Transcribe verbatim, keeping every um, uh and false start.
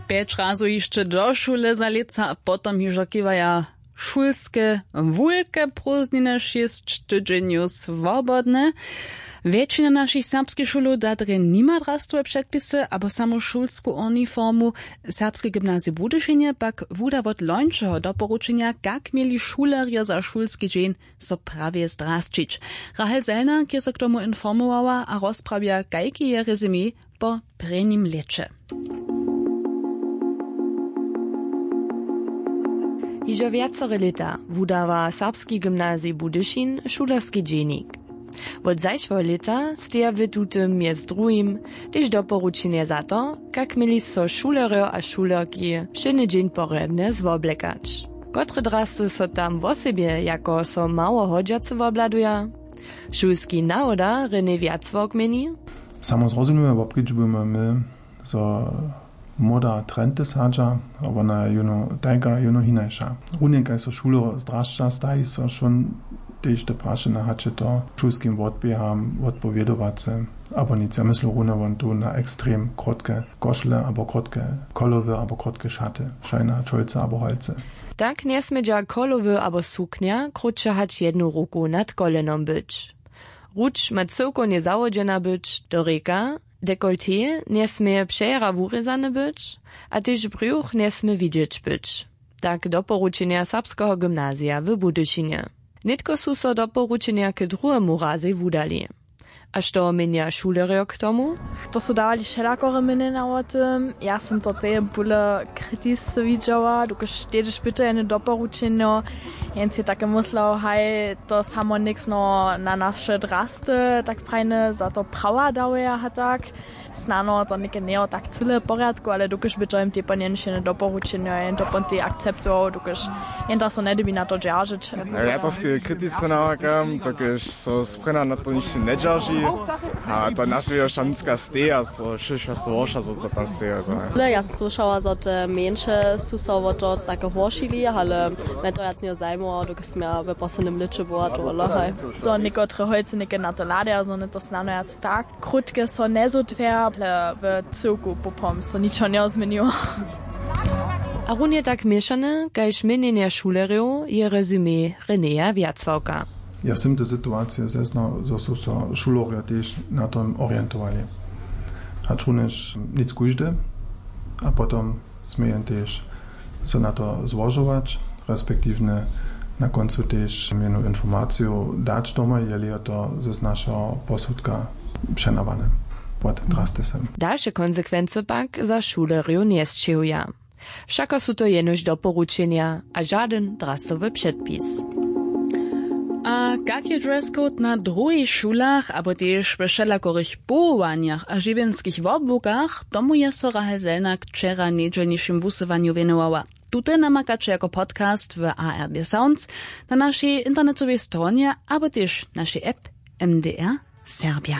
Pjeć razow hišće do šule za lětsa a potom hižo kiwaja šulske wulke prózdniny šěsć tydźenjow swobodne. Wjetšina našich serbskich šulow da drje nima drastowe předpisy abo samo šulsku uniformu. Serbske gymnazije w budyšinje pak wuda wot lońšeho doporučenja, kak měli šulerjo za šulski dźeń so prawje zdrasćić. Rahel Selnak je so k tomu informowała a rozprawja, kajki je rezime po prěnim lěće. Hižo wjacore lěta wudawa serbski gymnazij Budyšin šulerski dźenik. Wot zašłeho lěta steja w tutym mjez druhim tež doporučenje za to, kak měli so šulerjo a šulerki wšědny dźeń porjebnje zwoblekać. Kotre drasty so tam wosebje jako so mało hodźace wobhladuja? Šulski nawoda René Wjacławk měni: Samo zrozumimy wobkedźbujemy my, zo moda trenty sadźa, a wona je jónu tajka, jónu hinaša. Runje kaž so šulerjo zdrašća, staji so wšón tež te prašenja, hač je to šulskim wotběham wotpowědowace abo nic. Ja myslu runje won tu na ekstrem krótke košle abo krótke kolowy abo krótke šaty, šajna čolce abo holce. Tak njesmědźa kolowy abo suknja krótše hač jednu ruku nad kolenom być. Ruč ma cyłkownje zawodźena być do rěka, dekolté njesměje přejera wurězane być a tež brjuch njesmě widźeć być. Tak doporučenja serbskeho gymnazija w Budyšinje. Nětko su so doporučenja k druhemu razej wudali. A što měnja šulerjo k tomu? To su dawali wšelakore měnjenja wo tym. Ja sym to teje bóle kritisce widźała, dokelž tež pytajene doporučenjo. Jens je take myslał, haj, to samo něksno na naše drasty tak prajne za to prawa dawaja a tak. Snano to něke njejo tak cyle w porjadku, ale dokelž by to jim tej po njeńšene doporučenjo jen to pon tej akceptował, dokelž jen to so njedybi na to dźeržeć. Ja to sk- kritice namakam, dokelž so sprjena na to nišće njedźerži. A to nas je šamnicka steja, so šeša so worša, so to tam steja. Ale ja sam słyšała, zo te mjeńše su so wo to take horšili, ale mje to wjac njejo zajmowało, dokelž smy ja w poslednim lěće była to lahaj. Zo někotre holcy něke na to hladaja, zo one to snano wjac tak krótke so njezutwja, ale w cyłku popom so ničo njezměniło. A runje tak měšane kaž měnjenje šulerjow je rezumé Renéja Wjacławka. Ja sym te situacije zeznał, zo su so šulerjo tež na tom orientowali, hač runjež nic kóždy, a potom smějen tež so na to złožować, respektiwnje na kóncu tež mjenu informaciju dać domoj, jeli je to z našeho posudka přenawane wot drasty sem. Dalše konsekwency pak za šulerjow njesćěhuja. Wšako su to jenož doporučenja a žadyn drastowy předpis. A kak je dress code na druhich šulach abo tež we wšelakorych powołanjach a žiwjenskich wobłukach, tomu je so Rahel Selnak wčera w njedźelnišim wusyłanju wěnowała. Tute namakaće jako podcast w A R D Sounds, na našej internetowej stronje abo tež našej app M D R Serbja.